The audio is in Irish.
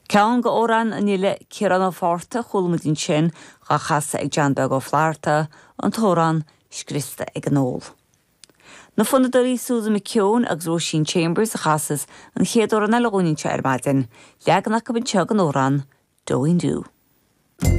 Ceann de amhráin an fhile Ciarán Ó Fátharta a chuala muid ansin, dhá chasadh ag John Beag Ó Flatharta, an t-amhrán Scriosta ag an Ól. Na fonnadóirí Susan McKeown agus Róisín Chambers a chasas an chéad amhrán eile dhúinn anseo ar maidin, leagan acu anseo den amhrán Dóín Dú.